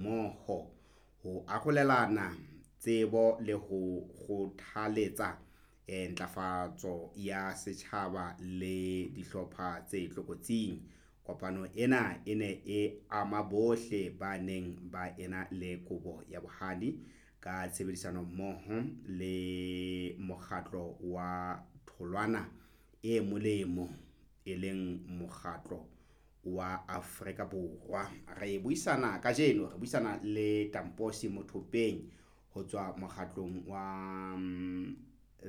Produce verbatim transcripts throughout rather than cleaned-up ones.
Mmoho ho arolelana tsebo le ho kgothaletsa eh, ntlafatso ya setjhaba le dihlopha tse tlokotsing. Kopano ena e ne e ama bohle ba neng ba ena le kobo ya bohadi ka tshebedisano mmoho le mokgatlo wa Tholwana e Molemo, e leng mokgatlo wa Afrika Borwa. Re buisana kajeno, re buisana le Tamposi Mothopeng ho tswa mokgatlong wa mm,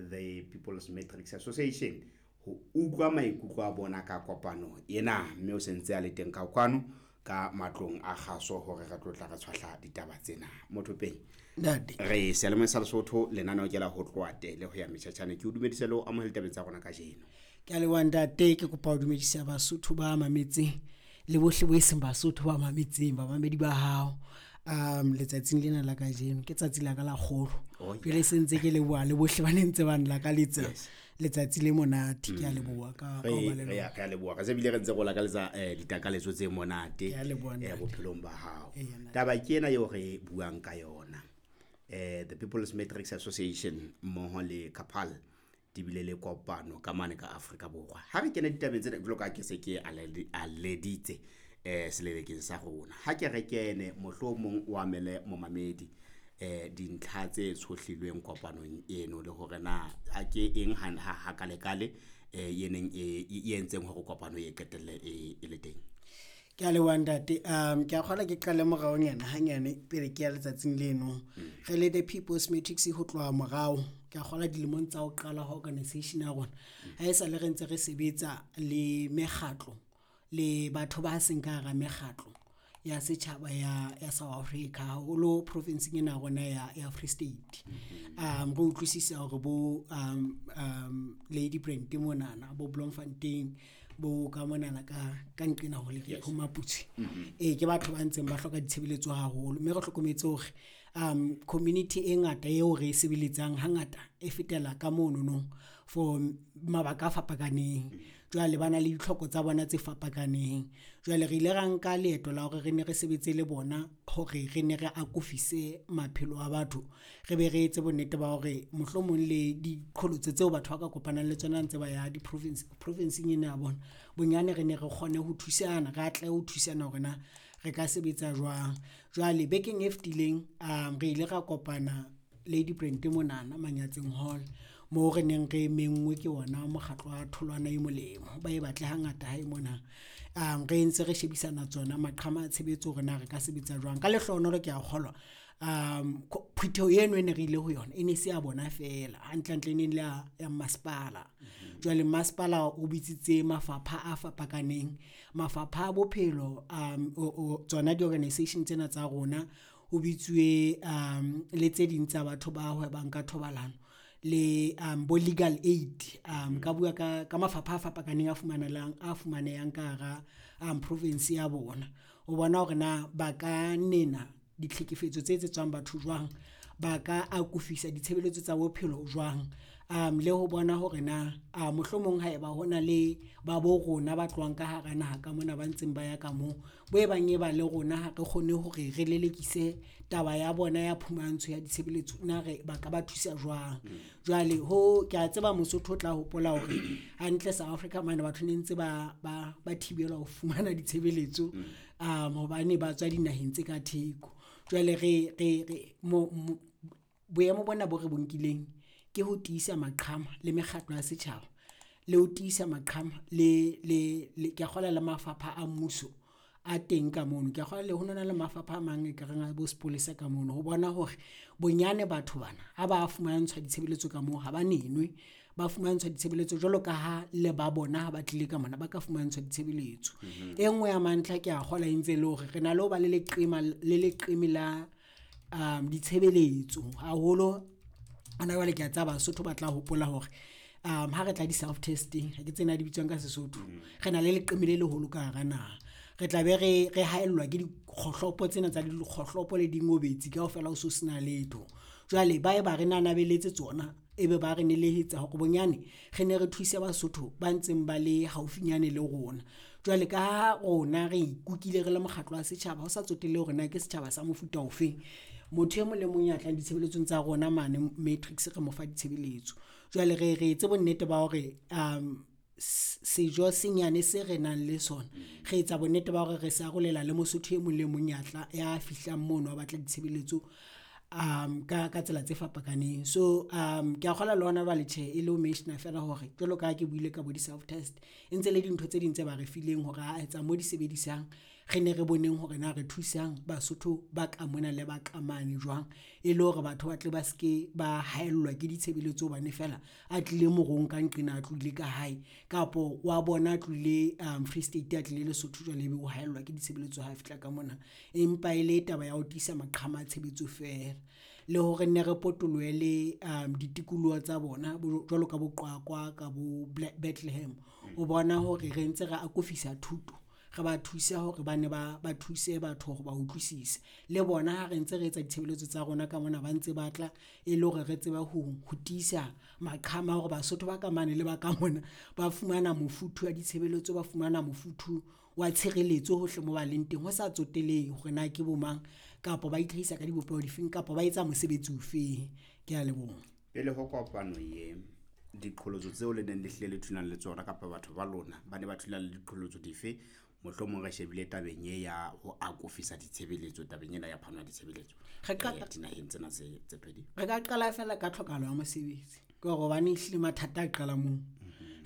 The People's Matrix Association ho utlwa maikutlo a bona ka kopano ena, mme o sentse a le teng ka kwano ka matlong a kgaso hore re tlo tla re tshwahla ditaba tsena. Mothopeng, Ntate. Re seyalemoyeng sa Lesotho, lenaneo ke la ho tloha tele ho ya metjhatjhane. Ke o dumedise le ho amohela ditabeng tsa rona kajeno. Ke a leboha ntate, ke kopa ho dumedisa Basotho ba mametseng le bohle bo e seng Basotho ba mametseng, bamamedi ba hao. Um letsatsing lena la kajeno ke tsatsi la ka la kgolo. Oh, Jwale yeah. se ntse ke leboha le bohle ba ne ntse ba nlakaletsa Yes. letsatsi le monate. Ke a leboha ka ka ho ba re le re lona. a re a leboha, re se bile re ntse re o lakaletsa eh, ditakaletso tse monate Ke a leboha, eh, ntate. bophelong ba hao. Eya, ntate. Taba ke ena eo re buang ka yona, eh, The People's Matrix Association mmoho le Kapal di bile le kopano ka mane ka Afrika Borwa. Ha re kena ditabeng tsena, jwalo ka ha ke se ke aledi- aleditse eh selelekeng sa rona, ha ke re kene mohlomong o amele momamedi eh dintlha tse tshohlilweng kopanong eno, le hore na a ke eng ha ha ha kalekale eh e neng e e entseng hore kopano e qetelle e e le teng. Ke a leboha ntate. Um ke a kgolwa ke qale moraonyana hanyane pele ke ya letsatsing leno. Re le The People's Matrix ho tloha morao, ke a kgolwa dilemong tsa ho qala ha organization ya rona. Ha esale re ntse re sebetsa le mekgatlo le batho ba seng ka hara mekgatlo ya setjhaba ya ya South Africa, haholo province-eng ena ya rona ya ya Free State. Um re utlwisisa hore bo um um Lady Brand monana, bo Bloemfontein, bo ka monana ka ka nqena ho le Yes. ho Maputswe. Ee, ke batho ba ntseng ba hloka ditshebeletso haholo, mme re hlokometse hore um community e ngata eo re e sebeletsang hangata e fetela ka monono for mabaka a fapakaneng. Jwale ba na le ditlhoko tsa bona tse fapakaneng. Jwale re ile ra nka leeto la hore re ne re sebetse le bona hore re ne re akofise maphelo a batho, re be re etse bonnete ba hore mohlomong le diqholotso tseo batho ba ka kopanang le tsona ha ntse ba ya di-province, province-eng ena ya bona. Bonyane re ne re kgone ho thusana, re atlehe ho thusana hore na re ka sebetsa jwang. Jwale bekeng e fetileng um re ile ra kopana Lady Brand monana Manyatseng Hall, moo re neng re menngwe ke ona mokgatlo wa Tholwana e Molemo, ba e batle hangata hae mona. Um re ntse re shebisana tsona maqhama a tshebetso hore na re ka sebetsa jwang. Ka lehlohonolo ke a kgolwa um phutheho eno e ne re ile ho yona e ne se ya bona feela, hantlentle e ne le ya ya masepala. Jwale masepala o bitsitse mafapha a fapakaneng, mafapha a bophelo um o o tsona di-organisation tsena tsa rona, ho bitsuwe um le tse ding tsa batho ba hwebang ka thobalano le um bo Legal Aid. Um nka bua ka ka mafapha a fapakaneng a fumanelang, a fumanehang ka hara um province ya bona. Ho bona hore na ba ka nena ditlhekefetso tse etsetswang batho jwang, ba ka akofisa ditshebeletso tsa bophelo jwang, um le ho bona hore na a mohlomong ha eba hona le ba bo rona ba tlohang ka hara naha ka mona ba ntseng ba ya ka moo, bo e bang e ba le rona ha re kgone hore re lelekise taba ya bona ya phumantsho ya ditshebeletso, na re ba ka ba thusa jwang. Jwale ho, ke a tseba Mosotho o tla hopola hore hantle South Africa mane batho ne ntse ba ba ba thibelwa ho fumana ditshebeletso um hobane ba tswa dinaheng tse ka theko. Jwale re re re mo boemo bona bo re bo nkileng ke ho tiisa maqhama le mekgatlo ya setjhaba, le ho tiisa maqhama le le le, ke a kgolwa le mafapha a mmuso a teng ka mono. Ke a kgolwa le ho nona le mafapha a mang ekareng a bo sepolesa ka mono ho bona hore bonyane batho bana ha ba fumantshwa ditshebeletso ka moo, ha ba nenwe. Ba fumantshwa ditshebeletso jwalo ka ha le ba bona ha ba tlile ka mona, ba ka fumantshwa ditshebeletso. E nngwe ya mantlha ke a kgolwa e ntse e le hore re na le ho ba le leqema, le leqeme la um ditshebeletso haholo. Hona jwale ke a tseba Basotho ba tla hopola hore um ha re tla di-self testing, ha ke tsebe na di bitswang ka Sesotho, re na le leqeme le leholo ka hara naha. Re tla be re re haellwa ke dikgohlopo tsena tsa dikgohlopo le dingobetsi kaofela ho so sena letho. Jwale ba ye ba re nanabelletse tsona, ebe ba re nelehetsa hore bonyane re ne re thuse Basotho ba ntseng ba le haufinyane le rona. Jwale ka ha rona re ikukile re le mokgatlo wa setjhaba, ho sa tsotelle hore na ke setjhaba sa mofuta ofeng, motho e mong le mong ya tlang ditshebeletsong tsa rona mane Matrix re mo fa ditshebeletso. Jwale re re etse bonnete ba hore sejo se nyane se re nang le sona, re etsa bonnete ba hore re se arolela le Mosotho e mong le mong ya tla, ya fihlang mono a batla ditshebeletso ka, ka tsela tse fapakaneng. So ke a kgolwa le hona jwale tjhe, e le ho mention-a feela hore jwalo ka ha ke buile ka bo di-self test, e ntse le dintho tse ding tse ba re fileng hore aa etsa mo di sebedisang. Re ne re boneng hore na re thusang Basotho ba ka mona le ba ka mane jwang, e le hore batho ba tle ba ske ba haellwa ke ditshebeletso hobane feela a tlile morung ka nqena a tlohile ka hae, kapo wa bona a tlohile Free State a tlile Lesotho jwale ebe o haellwa ke ditshebeletso ha fihla ka mona. Empa e le taba ya ho tiisa maqhama a tshebetso feela le hore nne re potolohe le ditikoloho tsa bona jwalo ka bo Qwaqwa ka bo Bethlehem, ho bona hore re ntse re akofisa thuto, re ba thuse hore ba nne ba, ba thuse batho hore ba utlwisise. Le bona ha re ntse re etsa ditshebeletso tsa rona ka mona ba ntse ba tla e le hore re tsebe ho, ho tiisa maqhama a hore Basotho ba ka mane le ba ka mona ba fumana mofuthu wa ditshebeletso, ba fumana mofuthu wa tshireletso hohle moo ba leng teng. Ho sa tsotelehe hore na ke bo mang kapa ba itlhahisa ka dibopeho difeng kapa ba etsa mosebetsi ofeng, ke a leboha. Pele ho kopano ye, diqholotso tseo le neng le hlile le thulana le tsona kapa batho ba lona ba ne ba thulana le diqholotso dife? Mohlomong re shebile tabeng e ya ho akofisa ditshebeletso, tabeng ena ya phano ya ditshebeletso Re ka eh, dinaheng tsena tse, tse pedi. Re ka qala feela ka tlhokahalo ya mosebetsi, ke hore hobane ehlile mathata a qala moo.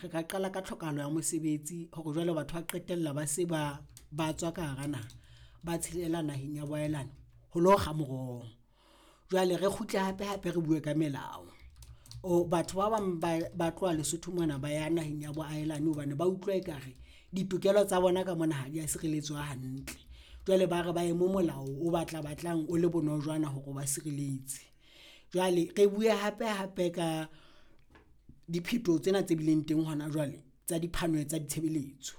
Re ka qala ka tlhokahalo ya mosebetsi hore jwale batho ba qetella ba se ba, ba tswa ka hara naha, ba tshelela naheng ya boahelani ho lo kga moroho. Jwale re kgutle hape hape re bue ka melao, o batho ba bang ba, ba tloha Lesotho mona ba ya naheng ya boahelani hobane ba utlwa ekare ditokelo tsa bona ka mona ha di a sireletswa hantle. Jwale ba re ba ye mo molao o batla batlang o le bonojana hore o ba sireletse. Jwale re bue hape hape ka diphetoho tsena tse bileng teng hona jwale tsa diphano tsa ditshebeletso,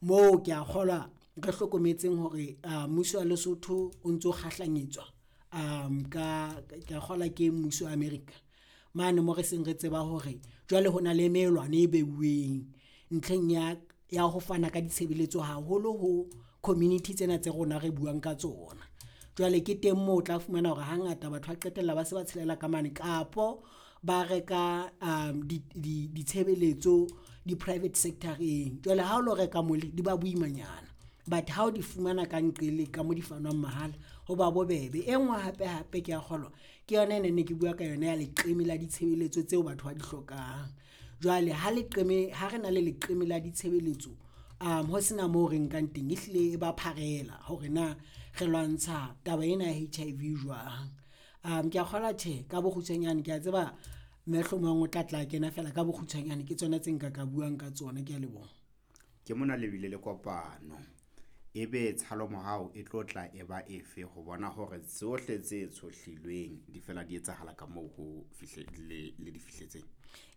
moo ke a kgolwa re hlokometseng hore mmuso wa Lesotho o ntso kgahlanyetswa ka, ke a kgolwa ke mmuso wa America mane moo re seng re tseba hore jwale ho na le melwane e beuweng ntlheng ya, ya ho fana ka ditshebeletso haholo ho community tsena tse rona re buang ka tsona. Jwale ke teng moo o tla fumana hore hangata batho ba qetella ba se ba tshelela ka mane kapo ba reka di, di, ditshebeletso di-private sector-eng. Jwale ha o lo reka mole di ba boimanyana, but ha o di fumana ka nqele ka mo di fanwang mahala ho ba bobebe. E nngwe hape hape ke a kgolwa ke yona ene ne ke bua ka yona ya leqeme la ditshebeletso tseo batho ba di hlokang. Jwale ha leqeme, ha re na le leqeme la ditshebeletso ho sena moo re nkang teng, ehlile e ba pharela hore na re lwantsha taba ena ya H I V jwang. Ke a kgolwa tjhe, ka bokgutshwanyane ke a tseba mohlomong o tla tla kena feela ka bokgutshwanyane ke tsona tse nka ka buang ka tsona, ke a leboha. Ke mona le bile le kopano, ebe tshalomorao e tlo tla e ba efe ho bona hore tsohle tse tshohlilweng di fela di etsahala ka moo ho fihle, le, le di fihletseng?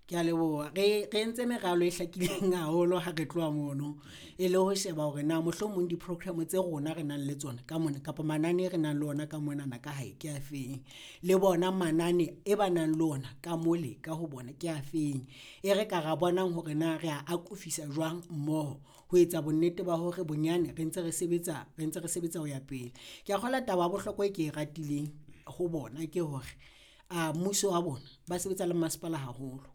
Ke a leboha. Re, re entse meralo e hlakileng haholo ha re tloha mono, e le ho sheba hore na mohlomong di-program tse rona re nang le tsona ka mona kapa manane re nang le ona ka monana ka hae ke afeng, le bona manane e ba nang le ona ka mole ka ho bona ke afeng. E re ka ra bonang hore na re a akofisa jwang mmoho ho etsa bonnete ba hore bonyane re ntse re sebetsa, re ntse re sebetsa ho ya pele. Ke a kgolwa taba ya bohlokwa e ke e ratileng ho bona ke hore mmuso wa bona ba sebetsa le masepala haholo.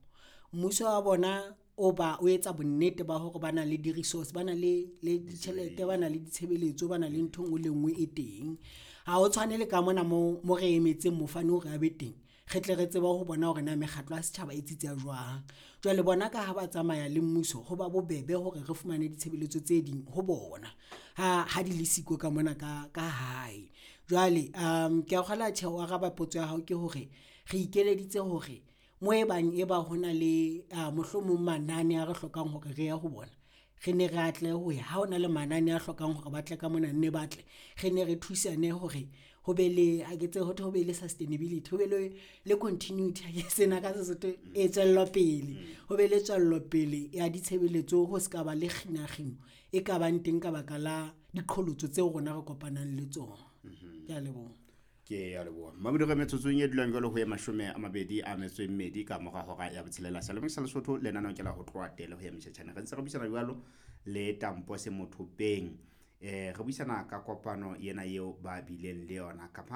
Mmuso wa bona o ba, o etsa bonnete ba hore ba na le di-resource, ba na le, le ditjhelete, ba na le ditshebeletso, ba na le ntho e nngwe le nngwe e teng. Ha ho tshwane le ka mona moo, mo re emetseng mofani hore a be teng, re tle re tsebe ho bona hore na mekgatlo ya setjhaba e tsitsa jwang. Jwale bona ka ha ba tsamaya le mmuso, ho ba bobebe hore re fumane ditshebeletso tse ding ho bona ha, ha di le siko ka mona ka, ka hae. Jwale ke a kgolwa tjhe ho araba potso ya hao ke hore re ikeleditse hore moo e bang e ba hona le mohlomong manane a re hlokang hore re ye ho bona, re ne re atlehe ho ya. Ha hona le manane a hlokang hore ba tle ka mona nne ba tle, re ne re thusane hore ho be le, ha ke tsebe hothwe ho be le sustainability, ho be le, le continuity sena ka Sesotho e tswellopele, ho be le tswellopele ya ditshebeletso ho ska ba le kginakgino e ka bang teng ka baka la diqholotso tseo rona re kopanang le tsona. Ke a leboha. Ke a leboha. Mamedi re metsotsong e dulang jwalo ho ye mashome a mabedi a metso e mmedi ka mora hora ya botshelela. Seyalemoyeng sa Lesotho, lenaneo ke la ho tloha tele ho ya motjhetjhane. Re ntse re buisana jwalo le Tampose Mothopeng. Eh re buisana ka kopano ena eo ba bileng le yona. Khaphane.